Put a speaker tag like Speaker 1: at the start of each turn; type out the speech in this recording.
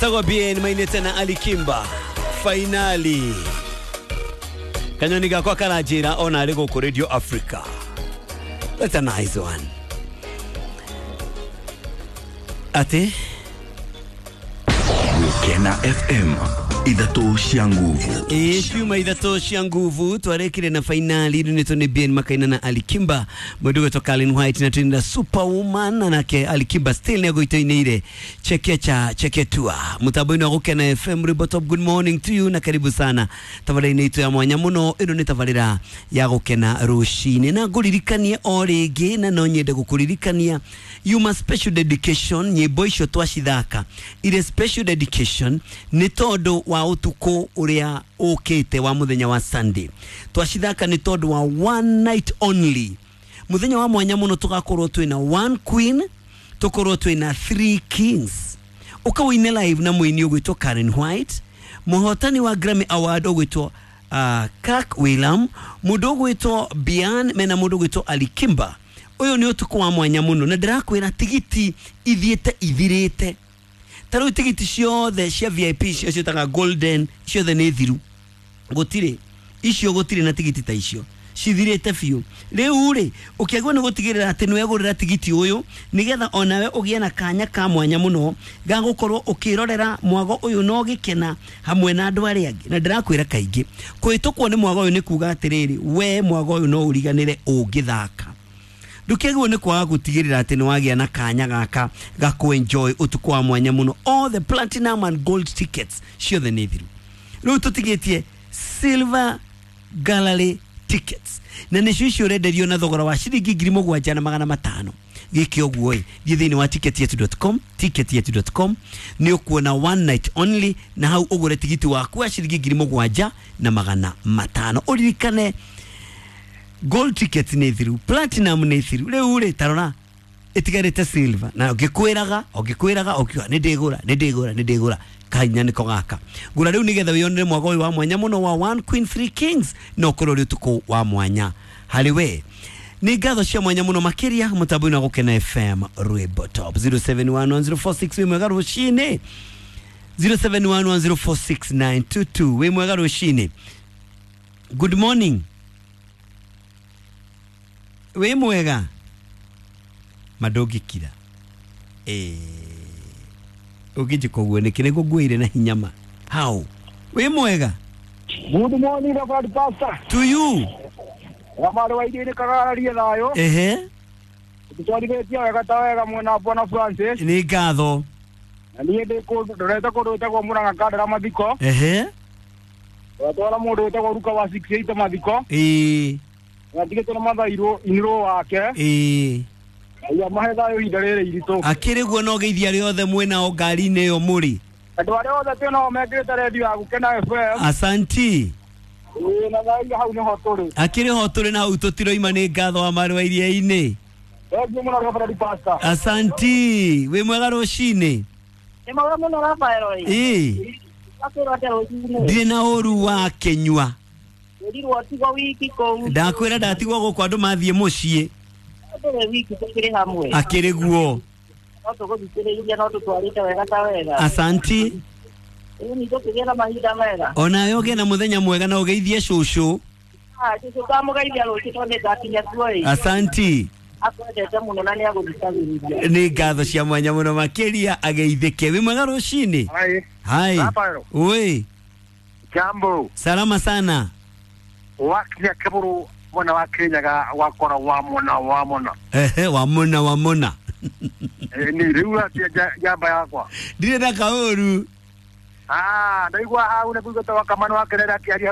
Speaker 1: Etagwo BN mainete na Ali Kimba finally kanyoni gakwa karanjira ona ari guku Radio Africa. That's a nice one. Ate
Speaker 2: Gukena FM ithatũ cia nguvu.
Speaker 1: Ĩĩ ciuma ithatũ cia nguvu twarekire na fainali rĩu nĩ BN makaina na Ali Kimba mũndũ gwetwo Kalin White na twina Superwoman na nake Ali Kimba still nĩ agũitoinĩire chekecha cheketua mũtambo-inĩ wa Gũkena FM. Rwĩmbo Top, good morning to you na karibu sana tabarĩra-inĩ itũ ya mwanya mũno. Ĩno nĩ tabarĩra ya Gũkena rũcinĩ na ngũririkanie o rĩngĩ na no nyende gũkũririkania yuma special dedication nyĩmbo icio twacithaka ire special dedication nĩ tondũ wa ũtukũ ũrĩa ũkĩte wa mũthenya wa Sunday. Twacithaka nĩ tondũ wa one night only, mũthenya wa mwanya mũno. Tũgakorwo twĩna one queen, tũkorwo twĩna three kings, ũkawĩine live na mũini ũgwĩtwo Karen White, mũhotani wa Grammy Award ũgwĩtwo Kirk Wheelam, mũndũ ũgwĩtwo Bian mena mũndũ ũgwĩtwo Ali Kimba. Ũyũ nĩ ũtukũ wa mwanya mũno na ndĩrakwĩra tigiti ithiĩte ithirĩte. Ta rĩu tigiti ciothe cia VIP cio ciĩtaga golden ciothe nĩ thiru, gũtirĩ icio, gũtirĩ na tigiti ta icio, cithirĩte biũ. Rĩu rĩ ũkĩagwo nĩ gũtigĩrĩra atĩ nĩ wegũrĩra tigiti ũyũ nĩgetha onawe ũgĩe na kanya ka mwanya mũno ga gũkorwo ũkĩrorera mwago ũyũ na ũgĩkena hamwe na andũ arĩa angĩ. Na ndĩrakwĩra kaingĩ kũhĩtũkwo nĩ mwago ũyũ nĩ kuga atĩrĩrĩ, we mwago ũyũ no ũriganĩre ũngĩthaka. Ndũkĩagĩrĩirwo nĩ kwaga gũtigĩrĩra atĩ nĩ wagĩa na kanya gaka ga kũ-enjoy ũtukũ wa mwanya mũno. All the platinum and gold tickets ciothe nĩ thiru, rĩu tũtigĩtie silver gallery tickets na nĩcio icio ũrenderio na thogora wa ciringi 7,500. Gĩkĩ ũguo ĩ thiĩ thĩinĩ wa ticketyetu.com, ticketyetu.com nĩ ũkuona one night only na hau ũgũre tigiti waku wa ciringi 7,500. Ũririkane gold ticket nĩ thiru, platinum nĩ thiru, rĩu rĩ tarora ĩtigarĩte silver. Na ũngĩkwĩraga ũngĩkwĩraga ũkiuga nĩ ndĩgũra nĩ ndĩgũra nĩ ndĩgũra, kahinya nĩko gaka ngũra rĩu nĩgetha wĩyonere mwago ũyũ wa mwanya mũno wa one queen three kings na ũkorwo ũrĩ ũtukũ wa mwanya harĩ we. Nĩ ngatho cia mwanya mũno makĩria mũtambo-inĩ wa Gũkena FM Rwĩmbo Top. 071104 wĩ mwega rũcinĩ. 0711046922 wĩ mwega rũcinĩ. Good morning, wĩ mwega ma ndũngĩkira ũngĩnjĩka ũguo nĩkĩ nĩguo nguĩire na hinya ma how. Wĩ mwega.
Speaker 3: Good morning, Reverend Pastor.
Speaker 1: To you.
Speaker 3: Wamari wa iria-inĩ kagararie thayũ.
Speaker 1: Ehe.
Speaker 3: Tũtwarithĩtie wega ta wega mwena wa Bwana Francis.
Speaker 1: Nĩ ngatho.
Speaker 3: Na niĩ ndĩ kũndũ ndorete kũndũ gwĩtagwo Mũrang'a Kandara mathiko.
Speaker 1: Ehe.
Speaker 3: Twatwara mũndũ wĩtagwo Ruka wa 68 mathiko.
Speaker 1: Ĩĩ.
Speaker 3: Atigĩtwo na mathairũ inirwo wake.
Speaker 1: Ĩĩ.
Speaker 3: Ngai amahe thayũ ihinda rĩrĩ iritũ.
Speaker 1: Akĩrĩ guo no geithia arĩa othe mwĩnao ngari-inĩ ĩyo mũrĩ.
Speaker 3: Andũ arĩa othe twĩ nao mekĩrĩte redio ya Gũkena FM.
Speaker 1: Asanti.
Speaker 3: Ĩĩ na thayũ hau nĩho tũrĩ.
Speaker 1: Akĩrĩ ho tũrĩ na hau tũtiroima. Nĩ ngatho wa marĩ wa iria-inĩ.
Speaker 3: Thengiũ mũno Reverend Pastor.
Speaker 1: Asanti, wĩ mwega rũcinĩ.
Speaker 4: Nĩ mwega mũno Rafael ĩ.
Speaker 1: Ĩĩ.
Speaker 4: Wakwĩrwo atĩa rũcinĩ?
Speaker 1: Ndirĩ na ũru wa kĩnyua.
Speaker 4: Wĩrirwo ũtigwo wiki kũu.
Speaker 1: Ndakwĩra ndatigwo gũkũ andũ mathiĩ mũciĩ.
Speaker 4: Ndũrĩ wiki tũkĩrĩ hamwe.
Speaker 1: Akĩrĩ guo.
Speaker 4: No tũgũthikĩrĩirie no tũtwarĩte wega ta wega.
Speaker 1: Asanti.
Speaker 4: Rĩu nĩ tũkĩgĩa na mahinda mega.
Speaker 1: Onawe ũgĩe na mũthenya mwega na ũgeithie cũcũ.
Speaker 4: Ah, cũcũ ndamũgeithia rũciũ tondũ nĩ ngakinya kuo ĩ.
Speaker 1: Asanti.
Speaker 4: Akwendete mũno na nĩ agũthikagĩrĩria.
Speaker 1: Nĩ ngatho cia mwanya mũno makĩria, ageithĩke. Wĩ mwega rũcinĩ.
Speaker 3: Hai.
Speaker 1: Hai.
Speaker 3: Rafael.
Speaker 1: Oi.
Speaker 3: Jambo.
Speaker 1: Salama sana.
Speaker 3: Wakinya kĩbũrũ mwena wa Kĩrĩnyaga wakora wa mona wa mona.
Speaker 1: Ehe, wa mona wa mona.
Speaker 3: Nĩ rĩu atia njamba yakwa.
Speaker 1: Ndirĩ na kaũru.
Speaker 3: Ah, ndaigua hau nĩ kũigua ta wakamano wa kerera akĩaria.